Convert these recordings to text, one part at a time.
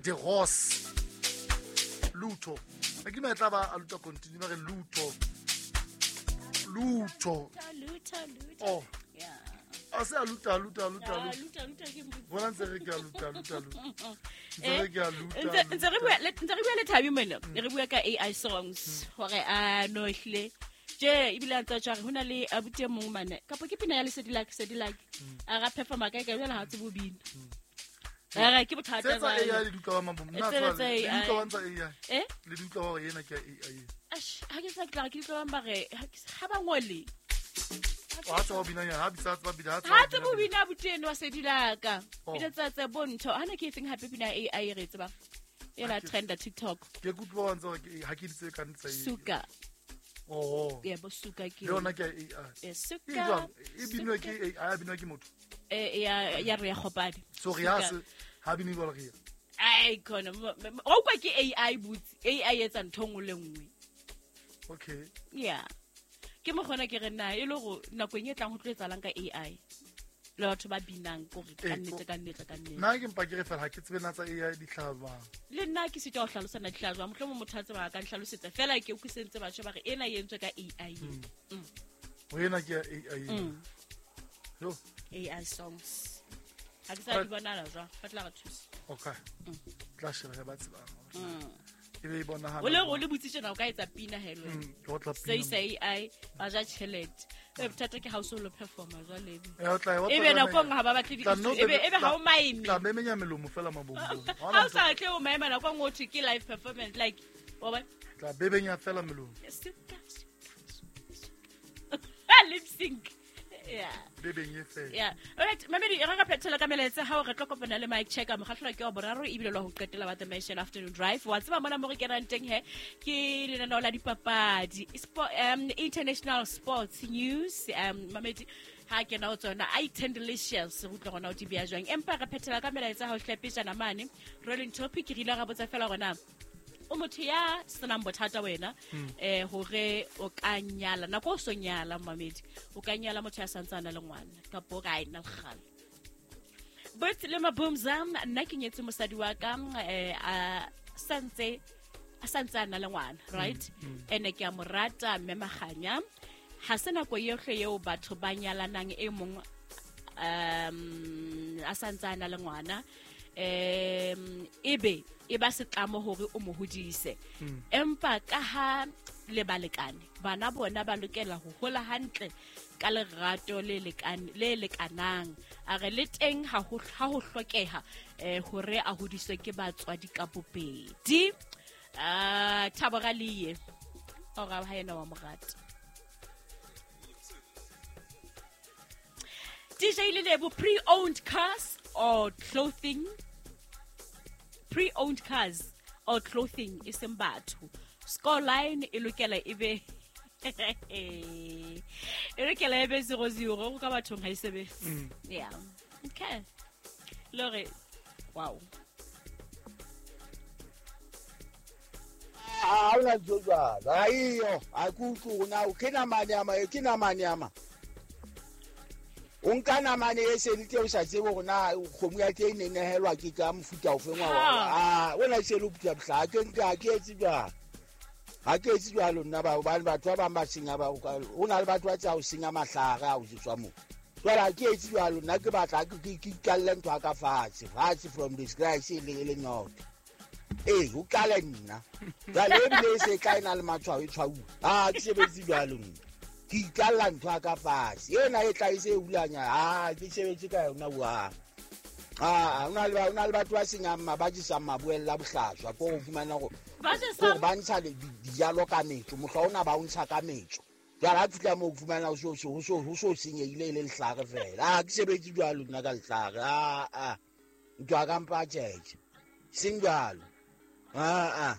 De Ross Luto a ke tla ba a luta continue ba re Luto Luto Luto Luto. Oh. Yeah. A se a luta luta luta Ah, luta. Luto Luto ke mbutse. Bona ntse re ke a luta luta luta. Ntse Eh, re ke a luta. Ntse re bua le Thabi mona, re bua ka AI songs hore a no ehlile je ebile a ntse a tjho hore hona le abuti e mong mane kapa ke pina ya Lesedi Lake Lesedi Lake a ra performa kae kae jwale ha tsebe ho bina. Ara ke bothata Tse tsa jwale. AI le di utlwa ba mambo. Nna Tsena tswa tsa le di AI. utlwa ba ntsa AI. Eh? Le di utlwa hore ena ke ya AI. Ash, ha ke sa ke tla re ke utlwa bang ba re ha ba ngole. Ha tswa ho bina nyana, ha bitsa tswa bina, ha tswa Ha ho tsebe ho bina. bina abuti eno wa Sedi Laka. Oh. Pina tsa tse bontsho. Hana ke efeng hape pina ya AI re e tsebang? E la trenda TikTok. Ke kutlwa ba ntse hore ke ha ke di tsebe ka ntse. Suka. Oh. Yebo suka ke. Le yona ke ya AI. Eh, E suka. jwang? E binwa ke AI, e binwa ke motho. Eh, ya re ya kgopadi. So re ya se ha binwe jwalo re ya. Ai khona o kwa ke AI butsi. AI etsa ntho nngwe le nngwe. Okay. Yeah. Ke mokgona ke re na e le go nakong e tlang ho tlo etsahalang ka AI. Le batho ba binang kore ka Eh, nnete ka nnete ka nnete. Nna ke mpa ke re fela ha ke tsebe na tsa AI di hlaha jwang. Le nna ke sitwa ho hlalosa na di hlaha jwang. Mohlomong motho a tseba a ka nhlalosetsa fela ke utlwisentse batho ba re ena e entswe ka AI. Ho ena ke ya AI. Yo, AI songs. Ha ke sa di bonala jwang. Ba tla re thusa. okay. Tla sheba ba tsebang. E be e bonahala. O le o le butse tjena o ka etsa pina he le wena. Ke otla Se pina. isa AI ba ja tjhelete. E bothata ke ha o so lo performa jwale ebe. Eh, o tla- o tla Ebe tlameha- nako e nngwe ha ba batle Tla no di ebe ebe ha o maime. Tla memenya melomo fela mabombong. Ha Ha hona o ntho- sa tle o maema nako e nngwe ho thwe ke live performance like wa bona? Tla bebenya fela melomo. Suka, suka, suka, suka. Lip sync. Yeah. Bebenye fela. Yeah. Alright, mamedi re ka phethela ka melaetsa hao re tlo kopana le Mike Checker mokgahlelo ke wa boraro ebile lwa ho qetela wa The Mansion Afternoon Drive. Wa tseba mona mo re kenang teng he ke lenaneo la dipapadi, international sports news. Mamedi ha kena ho tsona a delicious re utlwa gona o di beya jwang. Empa re phethela ka melaetsa hao hlepejana mane. Rolling topic re ile ra botsa fela hore na o motho ya senang bothata wena hore o ka nyala nako o so nyala mamedi o ka nyala motho ya santsana le ngwana kapa o ka ena lekgale but le mabumza nna ke nyetse mosadi wa ka a santse a na le ngwana right ene ke a mo rata mme Maganya ha se nako yohle eo batho ba nyalanang e mong a santse a na le ngwana ebe e ba setlamo hore o mo hodise empa ka ha le balekane bana bona ba lokela ho hola hantle ka lerato le lekanang a re le teng ha ho hlokeha hore a hodiswe ke batswadi ka bobedi. Thabo Raliye ora ha yena wa morata DJ Lelebo, pre-owned cars or clothing? Pre-owned cars or clothing e seng batho. Scoreline e lokela ebe e lokela ebe 0-0 go ka bathong ha e sebetse. Yeah. Okay. Lore, wow. Ha hona ntho jwalo. Ha eyo, ha ke utlwe hore na ke namane ama, ke namane ama. O nka namane e se le teng o sa tsebe hore na kgomo ya teng e ne nehelwa ke ka mofuta ofeng wa ah wena se le phutha bohla ke nka ha ke etse jwalo. Ha ke etse jwalo nna ba hobane batho ba bang ba senya ba ho na le batho ba tsa ho senya mahlare a ho tswa moo. Jwale ha ke etse jwalo nna ke batla ke ikalle ntho ya ka fatshe, fatshe from the scratch e le not. Eh, o qale nna. Jwale ebile e se tla ena le matshwao e tshwauwa. Ha ke sebetse jwalo nna. Ke ikalla ntho ya ka fatshe. Ena e tla e se hulanya. Ha ke sebetse ka yona wa. Ah, hona le batho ba senyang ba jesang maboella bohlaswa ko ho fumana hore ba ntsha dijalo ka metso, mohla ona ba o ntsha ka metso. Jwale ha fihla moo o fumana ho so senyehile e le lehlare fela. Ha ke sebetse jwalo nna ka lehlare. Ah. Ntho ya ka mpa tjhetjhe. Seng jwalo. Ah.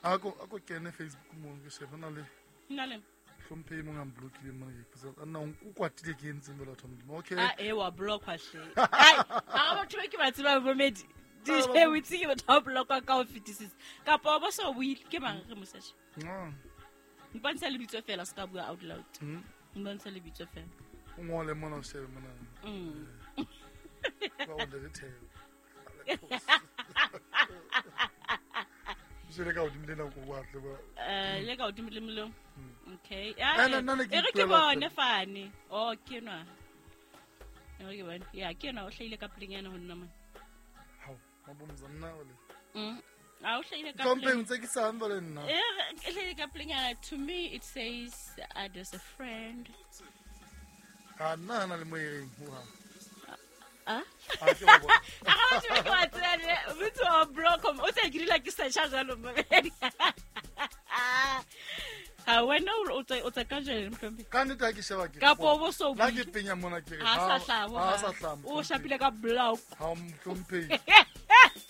Ako kene Facebook mo ke shebe na le. Nna le. Hlomphe mong a mblokile mona ke ipotsa nna o kwatile ke entseng jwale batho ba Modimo. Okay. Ah eh wa blockwa hle. Ai, ha batho ba ke ba tseba bomedi. DJ o itse ke batho ba blockwa ka ho fetisisa. Kapa ba so buile ke mang re moseshe. Mpontsha lebitso fela se ka bua out loud. Mpontsha lebitso fela. O ngole mona o shebe mona. Ba o le thebe. Se le ka godimo le nako wa tle ba. Le ka godimo le molo. Okay. Eh, nna ne ke E re ke ipuela bone fane. Oh, ke enwa. E re ke bone. Ya, ke enwa o hlahile ka pelenyana ho nna mona. Hao, mabomza nna ole. A o hlahile ka Hlomphe pele. ntse ke sang jwale nna. E re e hlahile ka pelenyana. To me it says there's a friend. Ha nna hana le mo e reng ho hang. Ah? Ha ke wa bona. A ga batho ba ke wa tseba ne, motho wa block o tse ke dula ke searcha jwalo mo. Ha wena o tse ka jwale mohlomphehhi. Ka nnete ha ke sheba ke. Kapo o bo so La ke buile. penya mona ke re. Ha sa hlaha Ha sa hlaha. O shapile ka block. Ha mohlomphehi.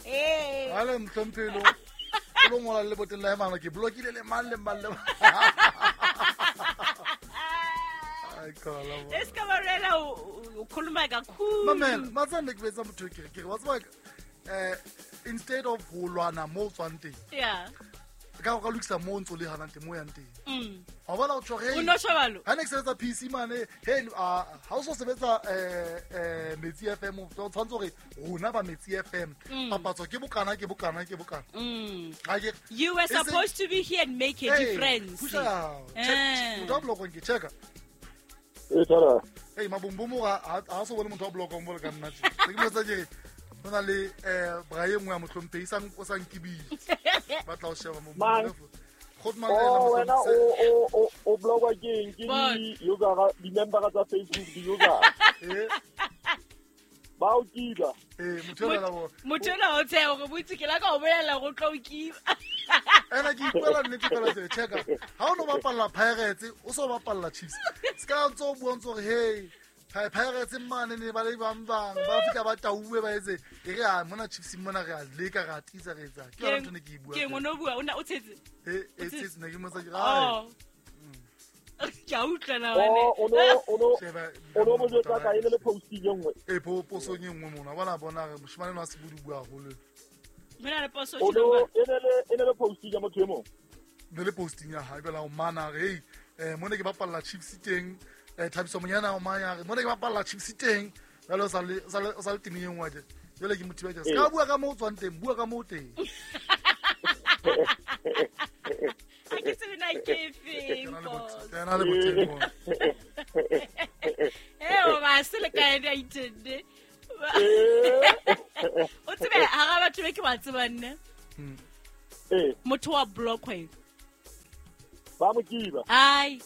Eh. Ha le mohlomphehi lo. O lo ngola le boteng la hae ke blockile le mang le mang le mang. Ai kala. bo. E ska ba rela o khuluma kakhulu. Mamela, matsane ke betsa motho ke re ke re wa tseba instead of ho lwana mo o tswang teng. Yeah. Ka o ka lokisa mo o ntso le hanang teng mo o yang teng. Wa bona o tjho re. O no shobalo. Ha ne ke sebetsa PC mane, hey ha o so sebetsa Metsi FM, o tshwanetse hore rona ba Metsi FM papatso ke bokana ke bokana ke bokana. Ha ke You were E seng- supposed to be here and make a Hey, difference. pusha. Check. Motho wa blokong ke checka. E tshwara. Hey mabombomo ha ha so bone motho wa blokong bole ka nna tje. Se ke mo etsa ke re ho na le bra e nngwe ya mohlomphehi sang o sa nkibile. Ba tla o sheba mo. Mang? Kgotman Oh, wena o o blogwa ke eng? Ke Bon. di-user, di-member tsa Facebook, di-user. Ba o kiba. Motho enwa la bo. Motho enwa o tsheha hore botse ke la ka o bolella hore o tlo o kiba. Ena ke ipuela nnete fela tje, checka. Ha o no bapalla Pirates, o so bapalla Chiefs. Se ka ntso o bua ntso hore hey, Pirates mane ne ba le bang bang, ba fihla ba tauwe ba etse. E re a mona Chiefs mona re a leka re a tiisa re etsa. Ke yona ntho ne ke e bua. Ke eng o no bua o na o tshetse? Eh, e tshetse ne ke mo tsa ke ai. Oh. Ke a utlwa na wena. Oh, o no Sheba o no mo jwetsa ka e ne le posting e nngwe. E po posong e nngwe mona. Bona bona re moshemane enwa a se bua bua haholo. Mona le poso O tjena no ba. e ne le posting ya motho e mong. Ne le posting ya hae bela o mana re hey, mona ke bapalla Chiefs teng. Thabiso Monyana o manya re mona ke bapalla Chiefs teng. Jwale o sa le o sa le o sa le temeng e nngwe tje. Jwale ke motho ba tje. Se ka bua ka moo o tswang teng, bua ka moo o teng. Ha ke tsebe na ke efeng, Ke na le boss. boteng, ke na le boteng mona. Eh, o ba se le kae di a itende. O tsebe hara batho be ke ba tsebang ne. Motho wa block wena. Ba mo kiba. Ai.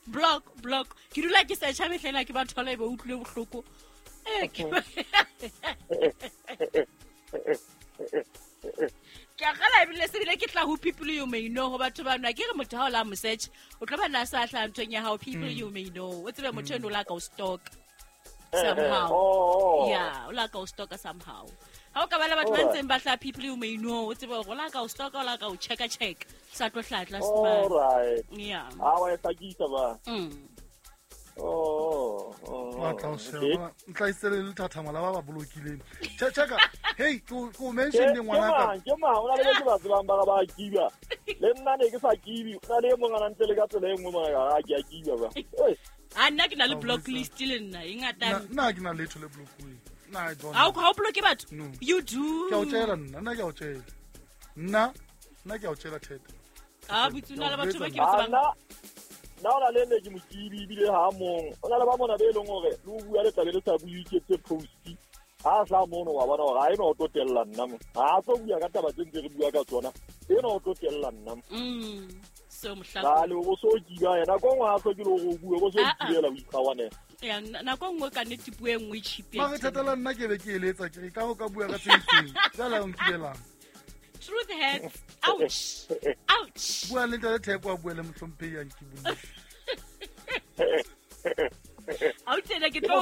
Block, block. Ke dula ke searcha mehlena ke ba thola e be utlwile bohloko. Eh, ke Ke a kgala ebile se bile ke tla ho people you may know ho batho ba nwa. Ke re motho ha o la mo search, o tlo ba na sa hlaha nthong ya hao people you may know. O tsebe motho eno o la ka o stalk somehow. Oh. Yeah, o la ka o stalk somehow. Ha o ka ba le batho ba ntseng ba hlaha people you may know, o tsebe hore o la ka o stalk, o la ka o checka check. Sa tlo hlaha tlase All mane. right. Yeah. Ha wa e hlakisa ba. Oh, oh. Wa tla o sheba. Ntla le lethathama la ba ba bolokileng. Checka. Hey, ke o mention le ngwana ka. Ke mang? O na le ba ke ba tsebang ba ba kiba. Le nna ne ke sa kibi. O na le e mong a na ntse le ka tsela e nngwe mona ka ke a kiba ba. Ei. A nna ke na le Oh, block Lisa. list le nna, e ngata. Nna ke na letho le blokuweng. Nna I don't. Ha o bloke batho? No. You do. Ke a o tjela nna, nna ke a o tjela. Nna, nna ke a o tjela theta. Ah, botse o na le batho ba ke ba Ah, tsebang. nna o na le ne ke mo kibi ebile ha mong. O na le ba mona be e leng hore le o bua le tlabe le sa bue ke tse post. Ha tla mono wa bona hore ha ena o tlo tella nna mo. Ha a tlo bua ka taba tse ntse re bua ka tsona. Ena o tlo tella nna mo. So mohla. Ba le o so kiba yena ko ngwa a hlokile hore o bue, o so Ah, ah. kibela o ikgawanela. Ya, nako e nngwe ka nnete puo e nngwe e cheap ya Mare teng. thatela nna ke be ke eletsa ke re ka ho ka bua ka tse itseng. Jwale o nkibelang. Truth hurts. Ouch. Ouch. Bua le ntate Theko a bue le mohlomphehi a nkibulle. Ha o tsena ke tlo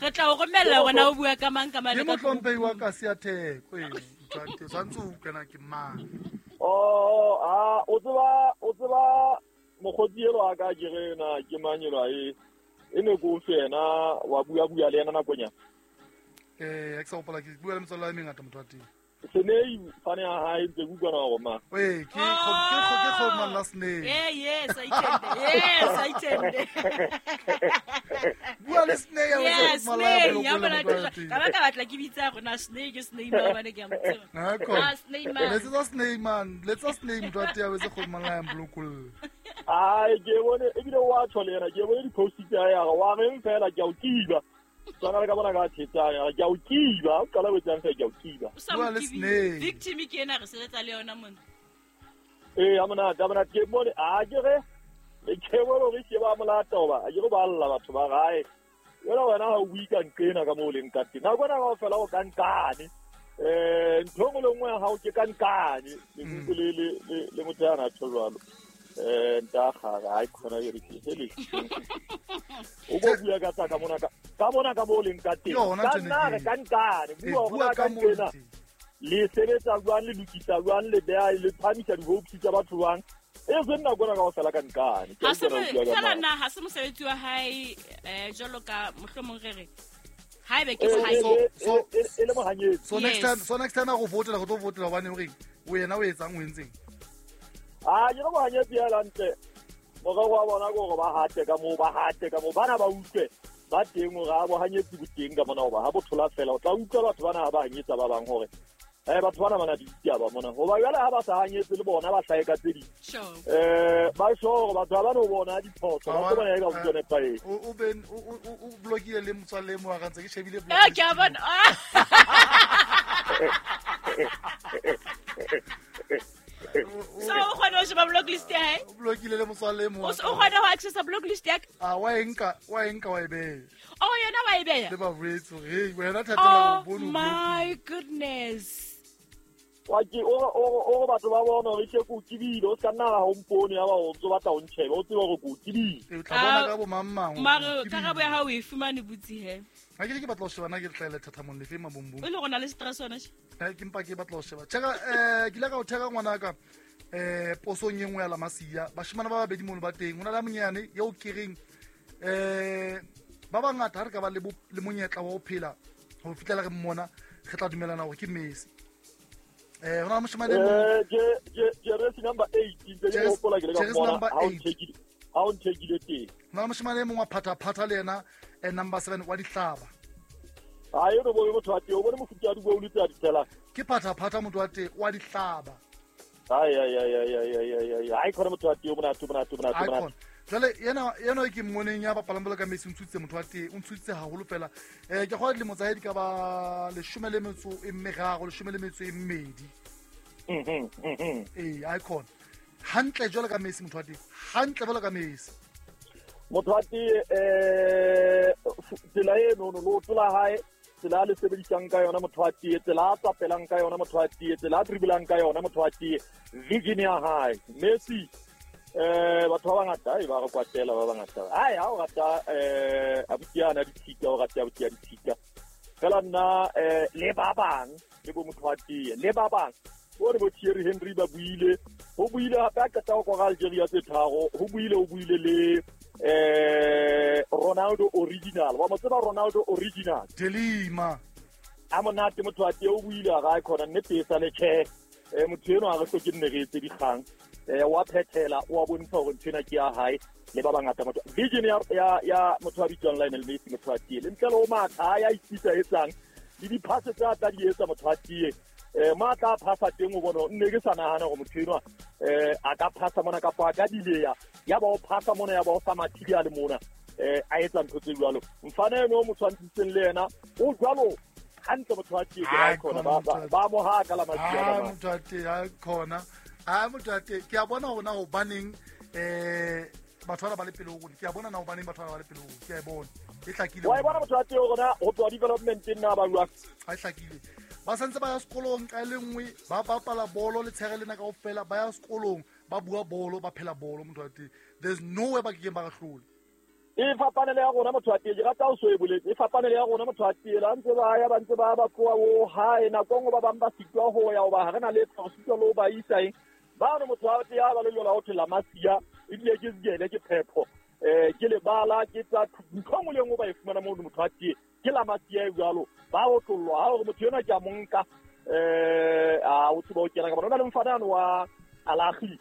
re tla o romella hore na o bua ka mang ka mang Ke le ka mohlomphehi wa kasi ya Theko eno. Motho wa teng, tshwanetse o utlwe na ke mang. Oh, ah, o tseba mokgotsi elo a ka ke re na ke mang elo a e e ne ko fe yena wa bua bua le yena nakonyana. Ha ke sa hopola ke bua le metswalle e mengata motho wa teng. Senei fane ya hae ntse ke utlwana hore ma. Ee, ke kgotman la Snake. Yeah, yes, I tende. Yes, I tende. Bua le Snake ya Yes, kgotman la Snake. Ya bolokole bona motho wa teng. ka ba ka batla ke bitsa rona Snake, Snake ma bane ke a mo tseba. Ha, khona. Ah, Snake man. Letsetsa Snake man, letsetsa Snake motho wa teng a betse kgotman la ya molokolle. Ai ke bone ebile wa tjho le yena ke bone di-post tsa hae a re wa reng fela ke a o kiba. Tswana le ka bona ka thetsang a re ke a o kiba, o qala ho etsang fela ke a o kiba. O sa Bua mo le kibile. Snake. Victim ke ena re sebetsa le yona mona. Ee, ha monate, ha monate ke bone a ke re ke bone hore ke ba molata hoba a ke re ba lla batho ba gae. Jwale wena ha o bue ka nqena ka moo o leng ka teng. Nako ena kaofela o ka nqane. Ntho e nngwe le nngwe ya hao ke ka nqane. Lekuku le motho ya na tjho jwalo. Nta kgare ha e khona e re ke hele. O bo bua ka tsa ka mona ka mona ka moo o leng ka teng. Yona Ka ntho nna ene re ke. ka nqane. Ee, Bua hore bua na ka ka moo o nqena. leng teng. Le sebetsa jwang, le lokisa jwang, le beha le phamisa di-hopes tsa batho jwang. E seng nako ena kaofela ka nqane. Ke a Ha se utlwa na o bua ka fela mang. na ha se mosebetsi wa hae jwalo ka mohlomong re re haebe ke E mohae e le mohanyetsi. So next Yes. time, so next time a go votela, go tlo votela hobane o reng? O yena o etsang, o entseng? A ke re mohanyetsi ya hantle. Morero wa bona ke hore ba hate ka moo, ba hate ka moo. Bana ba utlwe ba teng hore ha bohanyetsi bo teng ka mona hoba ha bo thola fela. O tla utlwa batho bana ha ba hanyetsa ba bang hore batho bana ba na le ditaba mona. Hoba jwale ha ba sa hanyetse le bona ba hlahe ka tse ding. Sure. Ba sure hore batho ha ba no bona diphoso, ba tlo bona eka ho nepahetse. O ben o blokile le motswalle e mong wa ka ntse ke shebile Eh, ke a bona. Ah. So o kgona ho sheba block list ya hae? O blokile le motswalle e mong O wa o ka. kgona ho accessa block list ya ka? Ah, wa e nka, wa e nka wa e beha. Oh, yona wa e beha? Le ba boletse hore, hey, wena thatela Oh o bone o blokile. my goodness. Wa ke o re batho ba bona hore ke o kibile, o ska nna ha o mpone ya ba o ntso batla ho ntjheba, o tsebe hore ke o kibile. Ee, o tla bona Ah, ka bo mang mang hore Mare o kibile. karabo ya hao o e fumane butsi he. Ha ke re ke batla ho sheba na ke tlhaela thathamong lefe mabombong. O le go na le stress yona she. Ke mpa ke batla ho sheba. Cheka, ke ile ka o theka ngwanaka posong e nngwe ya Lamasia. Bashimane ba babedi mono ba teng. Ho na le a monyane eo ke reng ba bangata ha re ka ba le le monyetla wa ho phela ho fihlela re mmona, re tla dumellana hore ke Messi. Ho na le moshemane e mong Jeresi number 8 ntse ke hopola ke le ka Jeresi mmona number ha o 8. nthekile, ha o nthekile teng. Ho na le moshemane e mong wa phathaphatha le yena number 7 wa dihlaba. Ha e no bone motho wa teng, o bone mofuta wa di-goal tse a di tshelang. Ke phathaphatha motho wa teng wa dihlaba. Ai ai ai ai ai ai ai ai. Ai khona motho wa teng o monate, o monate, o monate, o Ai monate. khona. Jwale yena e ke mmoneng ya bapalang bolo ka Messi o ntshutse motho wa teng, o ntshutse haholo fela. Ke kgolwa dilemo tsa hae di ka ba 13, 12. Ee, ai khona. Hantle jwalo ka Messi motho wa teng. Hantle jwalo ka Messi. Motho wa teng tsela eno no leoto la hae, tsela a le sebedisang ka yona motho wa tee, tsela a tsapelang ka yona motho wa tee, tsela a dribblang ka yona motho wa tee, vision ya hae. Messi batho ba bangata ai ba re kwatela ba bangata. Ai ha o rata abuti yana ditshika, o rata abuti ya ditshika. Fela nna le ba bang le bo motho wa tee, le ba bang. O re bo Thierry Henry ba buile, ho buile hape a qeta ho kora Algeria tse tharo, ho buile o buile le Ronaldo original. Wa mo tseba Ronaldo original. Delima. A monate motho wa tee o buile a ra khona nnete e sa le tjhe. Motho eno ha re hloke nne re etse dikgang. Wa phethela, wa bontsha hore ntho ena ke ya hae le ba bangata motho. Vision ya motho wa bitswang Lionel Messi motho wa tee. Le ntle le ho matha ya itsitsa etsang le di-pass tse a tla di etsa motho wa tee. Matla a phasa teng o bona nne ke sa nahana hore motho enwa a ka phasa mona kapa a ka dileya ya ba o phasa mona ya ba o sa mathile a le mona a etsa ntho tse jwalo. Mfana eno o mo tshwantshitseng le yena o jwalo hantle motho wa tee ke Ai, ra khona khona motho wa ba mo haka la masia Ah, ba mang. motho wa teng, ai khona. Ah, motho wa teng. Ke a bona hore na hobaneng batho bana ba le pele ho rona. Ke a bona na hobaneng batho bana ba le pele ho rona. Ke a e bona. E hlakile. Wa e bona motho wa tee hore na ho tloha development nna ba jwang. Ha e hlakile. Ba santse ba ya sekolong ka e le nngwe, ba bapala bolo letshehare lena kaofela, ba ya sekolong, ba bua bolo, ba phela bolo motho wa teng. There's no way ba kekeng ba re hlola. E fapane le ya rona motho wa tee, ke rata o so e boletse. E fapane le ya rona motho wa tee, la ntse ba ya ba ntse ba ba tloha o hae nako e nngwe ba bang ba sitwa ho ya hoba ha re na le re sitwa le ho ba isa eng. Ba re motho wa tee ha ba le jwalo ha ho thwe la masia, ebile ke jele ke phepho. Ke lebala ke tsa ntho e nngwe le e nngwe ba e fumana moo motho wa tee. Ke la masia e jwalo, ba otlollwa ha hore motho enwa ke a mo nka. A o tseba o kena ka bona o na le mfanano wa Alagi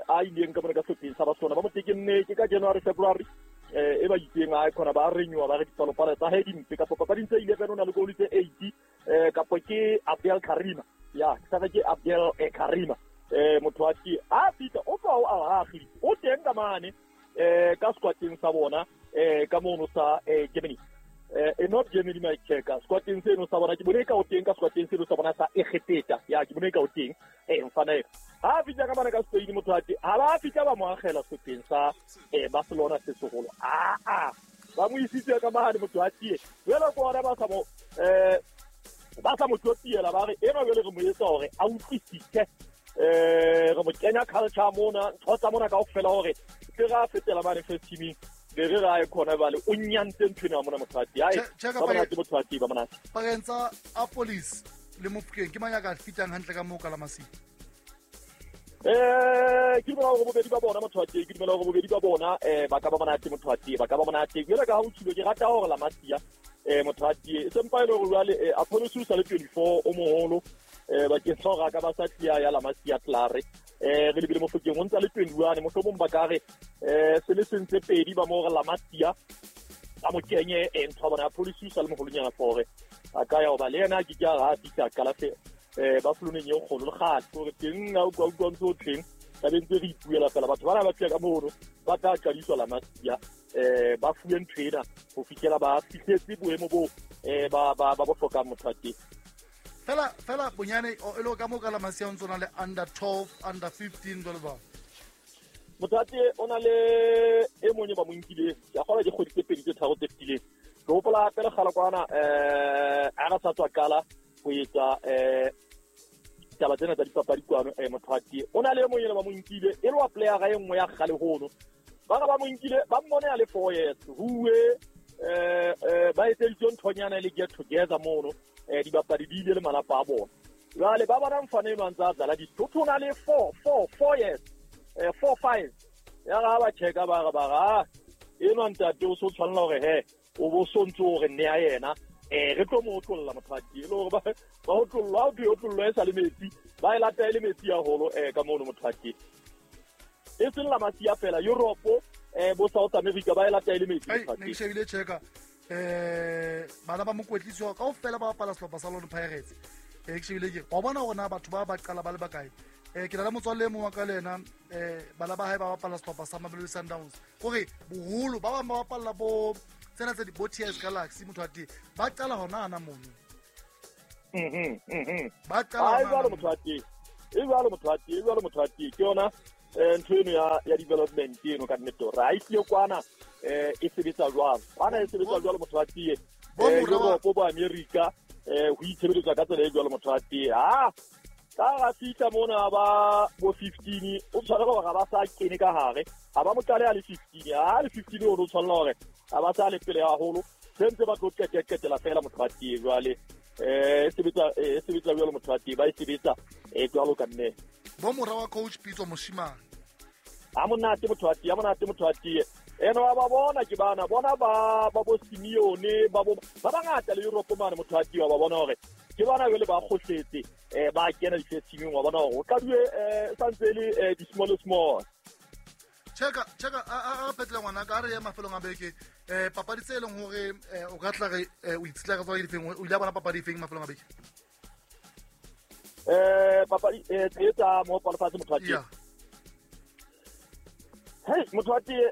a ileng ka bona ka sehlopheng sa Barcelona ba mo tekenne ke ka January February e ba itseng a khona ba renywa ba re dipalopalo tsa hae dimpe kapa papading tse 11 o na le goal tse 8 kapa ke Abdel Karima ya ke sa ke Abdel Karima motho wa ke a fita o tswa o Alagi o teng ka mane ka squadeng sa bona ka mono sa Germany not Germany my checker squadeng seno sa bona ke bone ka o teng ka squadeng seno sa bona sa Egepeta ya ke bone ka o teng mfana e ha fitla ka bana ka Spain motho ate ha ba fitla ba mo agela sehlopheng sa Barcelona se seholo a ba mo isitse ka mahane motho atie jwale ko ona ba sa mo ba sa mo tlotiela ba re ena jwale re mo etsa hore a utlwisise re mo kenya culture mona ntho tsa mona kaofela hore ke ra fetela mane first teaming be re ra e khona bale o nyantse ntho ena mona motho atie ai ba monate motho atie ba monate pakeng tsa Apolis le Mofokeng ke mang ya ka fitang hantle ka moo ka la Masia? Ke dumela hore bobedi ba bona motho wa teng, ke dumela hore bobedi ba bona ba ka ba monate motho wa teng, ba ka ba monate. Jwale ka ha o tshilo ke rata hore la Masia motho wa teng e sempa ile hore jwale Apollos o sa le 24 o moholo bakeng sa hore a ka ba sa tlia ya la Masia Tlare re lebile Mofokeng o ntsa le 21 mohlomong ba ka re se le sentse pedi ba mo hore la Masia a mo kenye ntho ya bona Apollos o sa le moholonyana for a ka ya hoba le yena ke ka ha fihla qala fe ba foloneng e kgolo le kgale gore teng a utlwa utlwa ntse o tleng tlabe ntse re ipuela fela batho bana ba fika ka mono ba tla qadiswa la Masia ba fuwe ntho ena ho fihlela ba fihletse boemo bo ba ba ba bo hlokang motho wa teng. Fela fela bonyane e le ka mo ka la Masia o ntse o na le under 12 under 15 jwalo jwalo. Motho wa teng o na le e mong e ba mo nkileng ke a kgolwa ke kgwedi tse pedi tse tharo tse fetileng. Ke hopola hape le kgale kwana a re sa tswa qala ho etsa taba tsena tsa dipapadi kwano motho wa teng o na le e mong ene ba mo nkile e le wa playera e nngwe ya kgale hono ba re ba mo nkile ba mmone a le 4 years huwe ba etseditswe nthonyana e le get together mono dibapadi di ile le malapa a bona jwale ba bona mfana eno a ntse a dlala ditho o na le 4 years 4 5 ya ga ba checka ba re ba ga eno ntate o so tshwanela hore he o bo sontse hore nne ya yena re tlo mo otlolla motho wa teng e le hore ba otlollwa o thwe otlollwa e sa le metsi ba e lata e le metsi haholo ka mono motho wa teng e seng la Masia fela Europe bo South America ba e lata e le metsi motho wa teng. Ne ke shebile checka bana ba mokwetlisi wa kaofela ba bapala sehlopha sa Lone Pirates ke shebile ke wa bona hore na batho ba ba qala ba le bakae ke na le motswalle e mong wa ka le ena bana ba hae ba bapala sehlopha sa Mamelodi Sundowns kore boholo ba bang ba bapalla bo tsena tse di bo TS Galaxy motho wa teng ba qala hona ana mono ba qala jwalo motho wa teng e jwalo motho wa teng e jwalo motho wa teng ke yona ntho eno ya development eno ka nnete hore ha e tlile kwana e sebetsa jwalo kwana e sebetsa jwalo motho wa teng Europe bo America ho itshebeletswa ka tsela e jwalo motho wa teng ha ka ra fihla mona ba bo 15 o tshwanela hore ba sa kene ka hare ha ba mo qale a le 15 ha le 15 o tshwanela hore ha ba sa le pele haholo sentse ba tlo qetela fela motho wa teng jwale e sebetsa jwalo motho wa teng ba e sebetsa jwalo ka nne bo mora wa coach Pitso Moshimane a monate motho wa teng a monate motho wa teng eno ba bona ke bana bona ba ba bo Simeone ba bo ba bangata le Europe mane motho wa teng ba bona hore ke bana jwale ba kgohletse ba kena di-first teaming wa bona hore o qadue santse le di-small small. Cheka a petla ngwana ka re ya mafelong a beke papadi tse leng hore o ka tla re o itsitla ka tswa difeng o ile bona papadi efeng mafelong a beke papadi tse tsa mo palofatse motho wa teng hey motho wa teng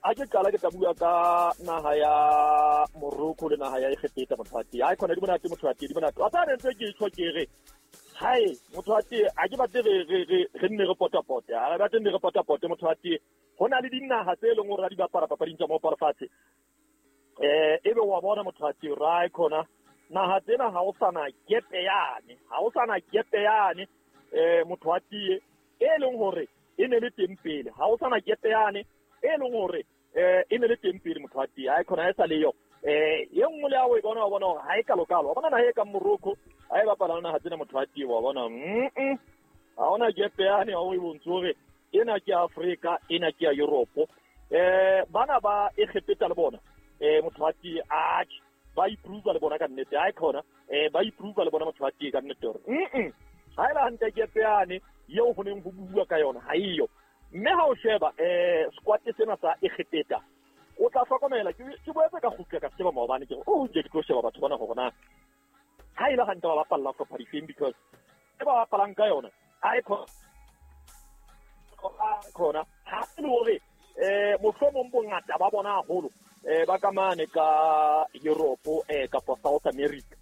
a ke qala ke tla bua ka naha ya Morocco le naha ya Egepeta motho wa teng ai khona di monate motho wa teng di monate wa tsa ntse ke tjho ke re hai motho wa teng a ke batle re nne re potapote a re batle nne re potapote motho wa teng ho na le dinaha tse leng hore di bapala papading tsa mo palofatse ebe wa bona motho wa teng ra khona naha tsena ha o sana gepe yane ha o sana gepe yane motho wa teng e leng hore e ne le teng pele ha o sana gepe yane e leng hore e ne le teng pele motho wa teng ha e khona e sa le yo e nngwe le ya o e bona wa bona hore ha e kalokalo wa bona naha e kang Morocco ha e bapala naha tsena motho wa teng wa bona ha ona gepe yane ha o e bontshe hore ena ke Afrika ena ke ya Europe bana ba Egepeta le bona motho wa teng atjhe Ba improve le bona ka nnete ha khona ba improve le bona motho ba tie ka nnete hore ha ela hantle ke peane eo ho neng ho bua ka yona ha iyo mme ha o sheba squad sena sa Egepeta o tla hlokomela ke boetse ka kgutla ka sheba maobane ke o ke tlo sheba batho bana hore na ha ela hantle ba bapalla hlopha difeng because e ba bapalang ka yona ha e khona ha e le hore mohlomong bongata ba bona haholo ba ka mane ka Europe kapa South America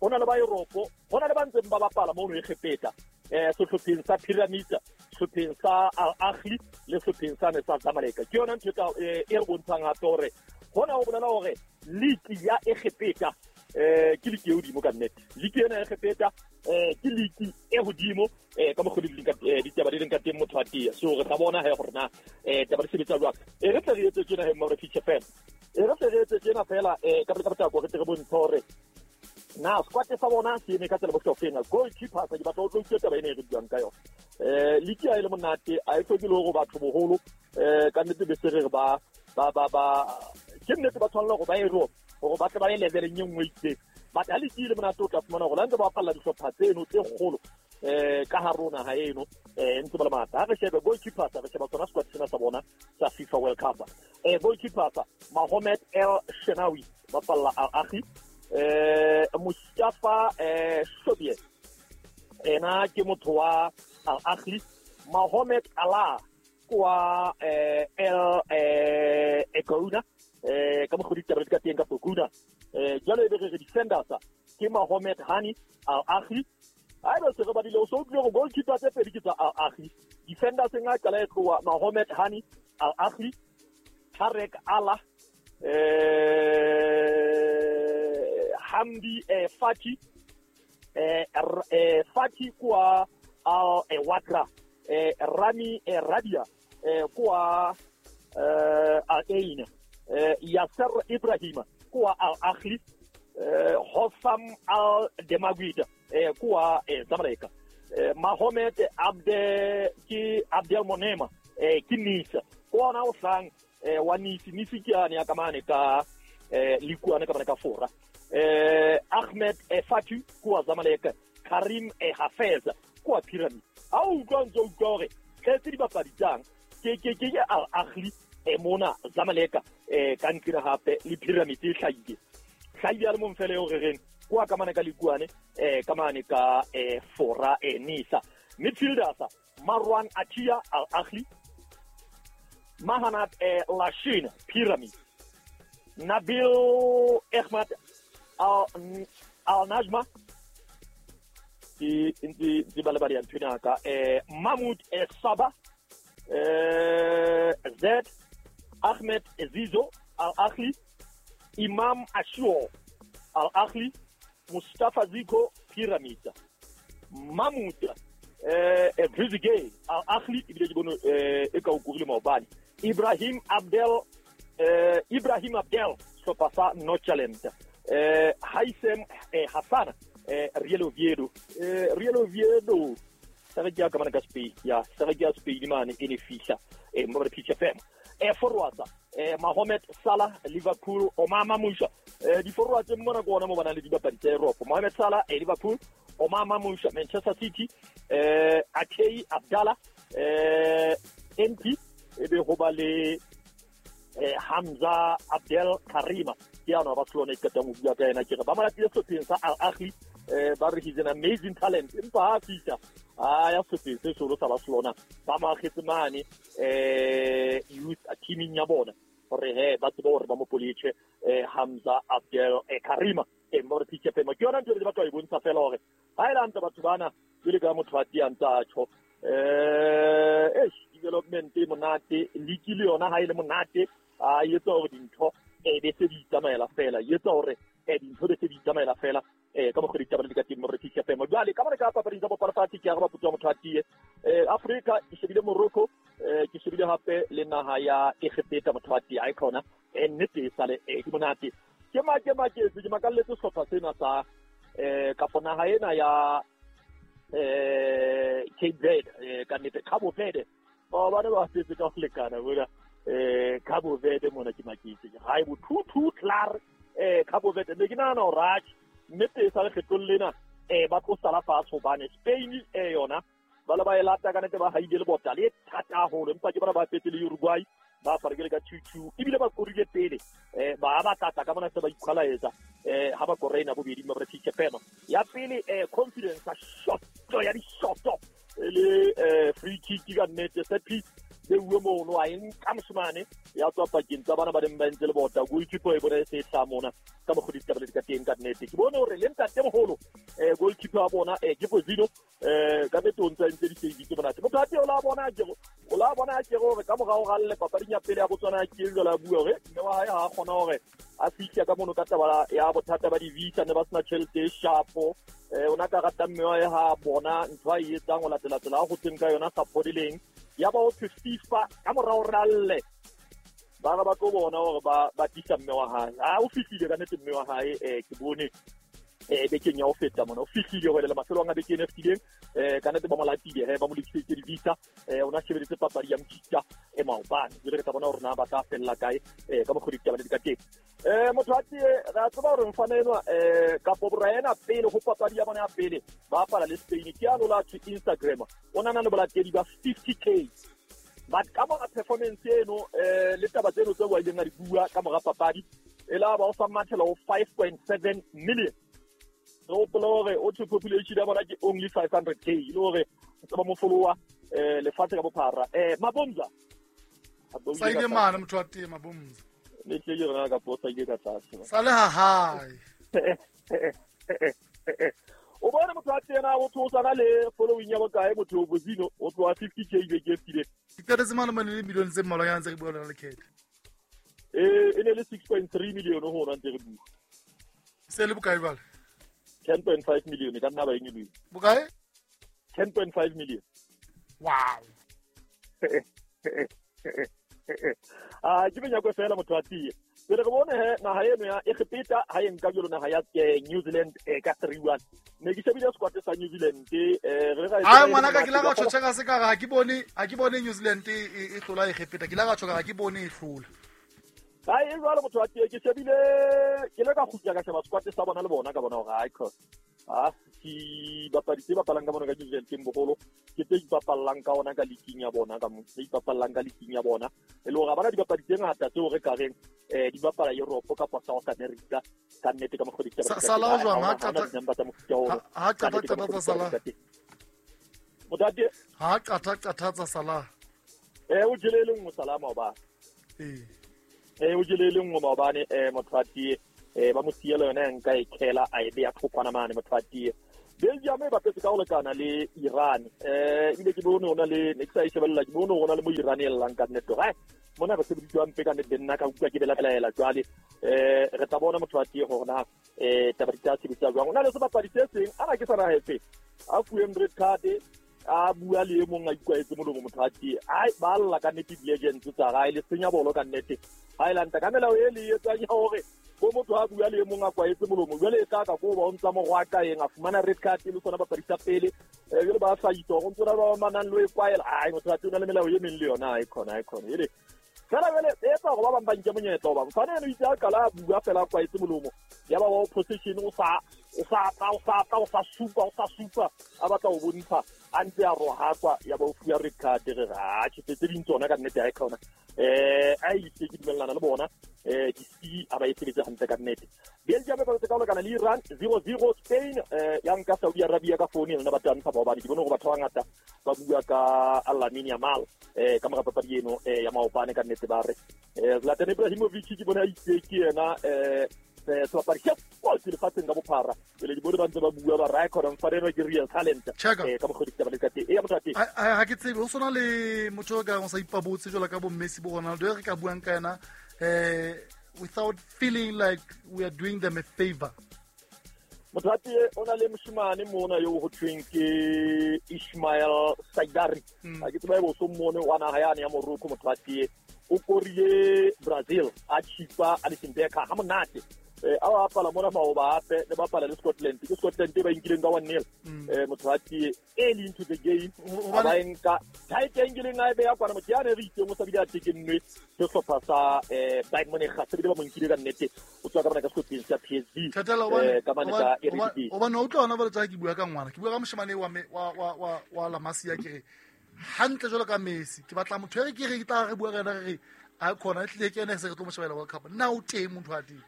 hona le ba Europe hona le ba ntseng ba bapala mono Egepeta sehlopheng sa Pyramids, sehlopheng sa Al Ahly le sehlopheng sa ne sa Zamalek. Ke yona ntho e re bontshang hape hore hona ho bolela hore league ya Egepeta ke league e hodimo ka nnete. League ena ya Egepeta ke league e hodimo ka mokgwa ditaba di leng ka teng motho wa tia. So re tla bona he hore na taba di sebetsa jwang. E re tle re etse tjena he Mma Feature fela. E re tle re etse tjena fela ka pele ka potlako re tle re bontshe hore na squad sa bona se eme ka tsela bohlokwa. Goalkeeper sa ke batla o tlo utlwa taba ena e re buang ka yona. League ha e le monate a e hloke le hore batho boholo ka nnete be se re ba ke nnete ba tshwanela hore ba Europe hore ba tle ba ye leveleng e nngwe itseng. But ha league e le monate o tla fumana hore la ntse ba bapalla dihlopha tseno tse kgolo ka hare ho naha eno ntse ba le matla. Ha re shebe goalkeeper sa re sheba tsona squad sena sa bona sa FIFA World Cup. Goalkeeper sa Mohamed El Shenawi bapalla Al Ahly. Mustafa Shobie ena ke motho wa Al Ahly. Mohamed Alaa kwa El Egouna ka mokgwa ditaba di ka teng ka Boguna. Jwale e be re defenders ke Mohamed Hani Al Ahly. Ha ebe se re badile o so utlwile hore goalkeeper tse pedi ke tsa Al Ahly. Defenders e nga qala e tloha Mohamed Hani Al Ahly, Tarek Allah, Hamdi Fati, Fati kwa Al Watra, Rami Rabia kwa Al Ain, Yasser Ibrahim kwa Al Ahly, Hossam Al Demaguid kwa Zamalek, Mohamed Abde ki Abdel Monema ki Nice kwa na osang wa Nice Nice ke ane ya kamane ka likuane ka bana ka fora. Ahmed Fatu kwa Zamalek, Karim Hafez kwa Pyramid. Ha o utlwa ntse utlwa hore tletse dibapadi tsang ke Al Ahly mona Zamalek ka ntlhina hape le Pyramid e hlahile. Hlahile a le mong fela eo re reng kwa ka mane ka likuane ka mane ka fora Nisa. Midfielders Marwan Atia Al Ahly, Mahanat Lashin Pyramid, Nabil Ahmad Al Najma ke ntse ba le ba di ntho ka Mahmoud Saba, Zed Ahmed Zizo Al Ahly, Imam Ashur Al Ahly, Mustafa Ziko Pyramid, Mahmoud Rizigay Al Ahly ebile ke bone e ka o kurile maobane, Ibrahim Abdel sehlopha sa Nordsjælland, Haisem Hassan Real Oviedo, Real Oviedo sa re ke ya ka mane ka Spain, ya sa re ke ya Spain mane e ne fihla mo re Pitch FM. Forwards Mohamed Salah Liverpool, Omar Mamouche di forwards mona ke ona mo bana le dibapadi tsa Europe. Mohamed Salah Liverpool, Omar Mamouche Manchester City, Akei Abdallah MP e be ho ba le Hamza Abdel Karima ke yana Barcelona e qetang ho bua ka yena ke re ba mo latile sehlopheng sa Al Ahly ba re he's an amazing talent empa ha fihla a ya sehlopheng se seholo sa Barcelona ba mo akgetse mane youth teaming ya bona hore he ba tsebe hore ba mo politjhe Hamza Abdel Karima mo re Pitch FM. Ke yona ntho e re batla ho e bontsha fela hore ha e le hantle batho bana jwale ka motho wa tiyang tsa tjho development e monate league le yona ha e le monate a etsa hore dintho be se di tsamaela fela, e etsa hore dintho be se di tsamaela fela ka mokgwa ditaba di ka teng mo re Pitch FM. Jwale ka mane ka papading tsa bopalapati ke araba potso ya motho a tie Afrika ke shebile Morocco, ke shebile hape le naha ya Egepeta motho a tie a khona nnete e sale ke monate. Ke maketse ke makalletse sehlopha sena sa kapo naha ena ya Cape Verde ka nnete Cabo Verde ba bana ba setse ka ho lekana bona Cabo Verde mona ke maketse ha e bo 2-2 klaar Cabo Verde ne ke nahana hore atjhe nnete e sa lekgetlong lena ba tlo sala fatshe hobane Spain yona ba le ba e lata ka nnete ba haile lebota le thata haholo empa ke bona ba fetse le Uruguay ba farekele ka 2-2 ebile ba korile pele ba batlatla ka mona se ba ikhwalaetsa ha ba koreina bobedi ba British Fema ya pele confidence a shoto ya dishoto le free kick ka nnete set piece le uwe mono a nka moshemane ya tswa pakeng tsa bana ba neng ba entse lebota goalkeeper e bona e se e hlaha mona ka mokgwa ditaba le di ka teng ka nnete ke bone hore le ntate moholo goalkeeper wa bona ke Bozino ka nnete o ntse a entse di-save tse monate motho a teng o la bona o la bona ke gore ka morao ga lle papading ya pele ya Botswana ke jwale a bua hore mme wa hae ha a kgona hore a fihle ka mono ka taba ya bothata ba di-visa ne ba sena tjhelete e shapo o na ka rata mme wa hae ha bona ntho a e etsang o latela tsela a gotseng ka yona sa phodileng ya ba o thwe FIFA ka morao ralle ba re ba tlo bona hore ba tlisa mme wa hae a o fihlile ka nnete mme wa hae ke bone bekeng ya ho feta mona o fihlile ho le mafelong a beke ena e fetileng ka nnete ba mo latile he ba mo lokiseditse di-visa o na shebeletse papadi ya mokita e maobane jwale re tla bona hore na ba tla fella kae ka mokgwa ditaba le di ka teng motho a tie re a tseba hore mfana enwa kapo bora ena pele ho papadi ya bona ya pele ba bapala le Spain ke a lola to Instagram o nana le bolatedi ba 50k but ka mora performance eno le taba tseno tseo a ileng a di bua ka mora papadi e la ba o sa mathela ho 5.7 million re hopola hore o thwe population ya bona ke only 500k e le hore tse ba mo followa lefatshe ka bophara Mabomza sa ile mane motho wa teng Mabomza ne tle ke rona ka posa ke ka tlase sa le ha hae o bone motho wa teng o thosana le following ya bokae motho o Bozino o tloha 50k beke e fetileng ke qetetse mane mane le million tse mmalwanyana tse re bua lona lekgetho e ne le 6.3 million ho rona ntse re bua se le bokae jwale 10.5 million ka nna ba e nyolohile bokae 10.5 million wow a ke menyako fela motho wa tie pele re bone he naha eno ya Egepeta ha e nka jalo naha ya New Zealand ka 3-1 ne ke shebile squad sa New Zealand re ga a ngwana ka ke la ga tshotshega ka se ka ga ke bone New Zealand e hlola Egepeta ke la ga tshoka ga ke bone e hlola ha e jwalo motho wa tie ke shebile ke le ka kgutla ka sheba squad sa bona le bona ka bona hore ha e a ke bapadi tse bapalang ka bona ka New Zealand ke bogolo ke tse ipapallang ka ona ka leaking ya bona ka mo tse ipapallang ka leaking ya bona e le hore ba na dibapadi tse ngata tseo re ka reng di bapala Europe kapa South America ka nnete ka mokgwa ditaba Salah jwang ha qata qata Salah motate ha qata qata tsa Salah o jele le nngwe Salah maobane o jele le nngwe maobane motho wa tie ba mo siela yona nka e khela a e beya thokwana mane motho wa tie Belgium e bapetse ka ho lekana le Iran ebile ke bone hona le ne ke sa e shebella ke bone hona le mo Iran e llang ka nnete hore mona re sebediswa mpe ka nnete nna ka utlwa ke belaela jwale re tla bona motho wa tie hore na taba di tla sebetsa jwang o na le sebapadi se seng ana ke sa naha a fuweng red card a bua le e mong a ikwaetse molomo motho wa tie ai ba lla ka nnete di-legends tsa gae le senya bolo ka nnete ha e lanta ka melao e le etsang ya hore bo motho a bua le e mong a kwaetse molomo jwale e tla ka ko ba o ntsa mogwaka eng a fumana red card le sona bapadi sa pele jwale ba hlahisa go ntse ba manang le e kwaela ai motho wa tie o na le melao e meng le yona ai khona ele fela jwale e etsa gore ba bang ba nke monyetla hoba mfane eno itse a qala a bua fela a kwaetse molomo ya ba wa opposition o sa supa a batla ho bontsha a ntse a rohakwa ya ba o fuwa red card re ha tjhe tse ding tsona ka nnete ha e khona a itse ke dumellana le bona di-C a ba e sebetse hantle ka nnete Belgium e bapetse ka ho lekana le Iran 0-0 Spain ya nka Saudi Arabia ka founu yona ba tantsha maobane ke bone hore batho ba bangata ba bua ka Lamine Yamal ka mora papadi eno ya maobane ka nnete ba re Zlatan Ibrahimovic ke bone a itse ke yena sebapadi se kotsi lefatsheng ka bophara pele ke bone ba ntse ba bua ba re khona mfane eno ke real talent ka mokgwa ditaba le ka teng ya motho wa teng ha ke tsebe ho sona le motho o ka o sa ipabotse jwalo ka bo Messi bo Ronaldo re ka buang ka yena without feeling like we are doing them a favor. Motho wa teng o na le moshemane mona yo ho thweng ke Ismail Saidari a ke tseba bo so mone wa naha yane ya Morocco motho wa teng o korile Brazil a chipa Alisson Becker ha monate A bapala mona maoba hape le bapala le Scotland. Ke Scotland e ba inkileng ka 1-0. Motho a tie early into the game. A ba nka tight angle a e beya kwana motho ya ne re itseng o sa bile a tekennwe sehlopha sa Bayern Munich se bile ba mo nkile ka nnete o tswa ka bana ka sehlopheng sa PSV ka mane ka Eredivisie. Hobane o utlwa hona jwale tsa ke bua ka ngwana, ke bua ka moshemane wa La Masia, ke re hantle jwalo ka Messi, ke batla motho e re ke re ke tla re bua ka yena re re a khona e tlile ke ene se re tlo mo shebela World Cup. Nna o teng motho a teng?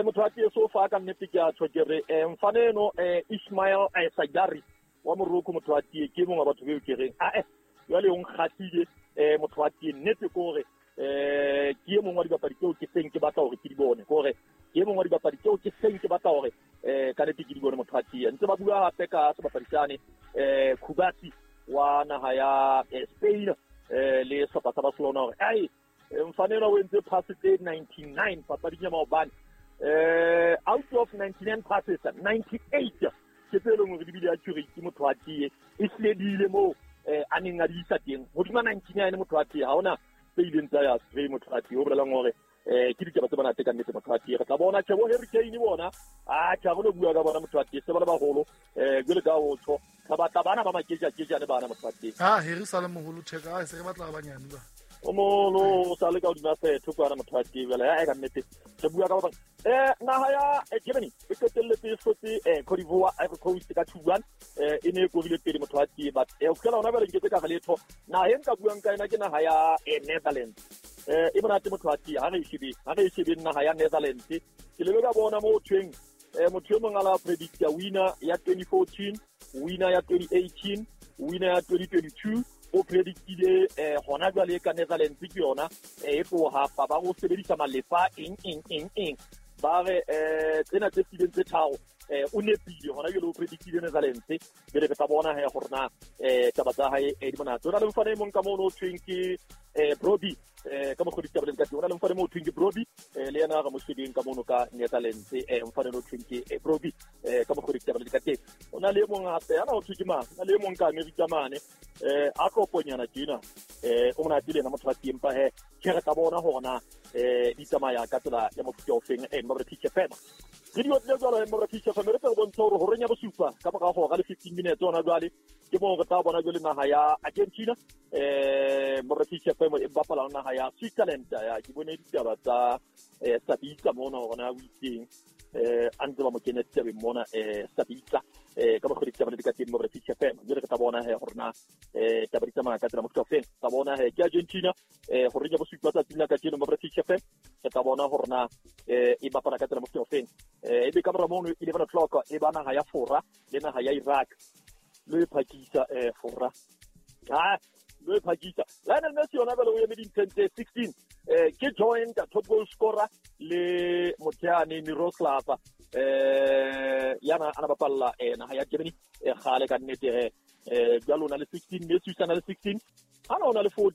Motho a teng so fa ka nnete ke a tjho ke re mfane eno Ismail Saibari wa Morocco motho a tie ke mongwe wa batho beo ke reng jwale o nkgahlile motho a tie nnete ke hore ke e mongwe wa dibapadi tseo ke seng ke batla hore ke di bone, ke hore ke e mongwe wa dibapadi tseo ke seng ke batla hore ka nnete ke di bone motho a tie. Ntse ba bua hape ka sebapadi sane Kubasi wa naha ya Spain le sehlopha sa Barcelona hore ai mfane enwa o entse pass tse 99 papading ya maobane. Out of 99 passes 98 ke tse leng hore di bile accurate motho a tie e hlile di ile moo a neng a di isa teng hodima 99 motho a tie ha hona tse ileng tsa ya stray motho a tie o bolelang hore ke ditaba tse monate ka nnete motho a tie. Re tla bona tjhe bo Harry Kane bona a tjha re lo bua ka bona motho a tie se ba le baholo jwale ka o tjho re batla bana ba makejakejane bana motho a tie. Ha Harry sa le moholo theka a se re batla ba banyane ba o moholo o sa le ka hodima setho kwana motho a tie jwale ha ka nnete re bua ka ba bang. Naha ya Germany e qetelletse e hlotse Cote d'Ivoire Ivory Coast ka 2-1 e ne e korile pele motho a tie but ho fihlela hona jwale nketse ka re letho. Naha e nka buang ka yona ke naha ya Netherlands. E monate motho a tie ha re e shebe naha ya Netherlands. Ke lebe ka bona mo thweng motho e mong a la predicta winner ya 2014, winner ya 2018, winner ya 2022 o predictile hona jwale ka Netherlands ke yona e tloha pa ba go sebedisa malepa eng eng eng eng ba re tsena tse fileng tse tharo o nepile hona jwale o predictile Netherlands pele re tla bona he gore na taba tsa hae di monate. O na le mfane e mong ka mono o thweng ke Brobbey ka mokgwa ditaba le ka teng. O na le mfane mo o thweng ke Brobbey le yena re mo shebeng ka mono ka Netherlands mfane o thweng ke Brobbey ka mokgwa ditaba le ka teng. O na le e mong hape ana o thwe ke mang, o na le e mong ka Amerika mane a tloponyana tjena o monate le yena motho wa teng pa he ke re tla bona hore na di tsamaya ka tsela ya mofuta o feng Mabra Pitch FM. Re di otlile jwalo Mabra Pitch FM re tla bontsha hore horeng ya bosupa ka mora hora le 15 minutes hona jwale ke moo re tla bona jwale naha ya Argentina Mabra Pitch FM e bapala naha ya Switzerland. Ya ke bone ditaba tsa Sabitzer mona hore na o itseng a ntse ba mo kenya ditabeng mona Sabitzer ka mokgwa ditaba le ka teng Mabra Pitch FM. Jwale re tla bona he hore na taba di tsamaya ka tsela mofuta o feng. Tla bona he ke Argentina horeng ya bosupa tsatsing la kajeno Mabra Pitch FM re tla bona hore na e bapala ka tsela mofuta o feng. E be ka mora mono 11 o'clock e ba naha ya Fora le naha ya Iraq lo e phakisa Fora lo e phakisa. Lionel Messi yona jwale o eme dintlheng tse 16 ke joint top goal scorer le Moteane Miroslav yana ana bapalla naha ya Germany kgale ka nnete jwale o na le 16 Messi o sa na le 16 ana o na le 14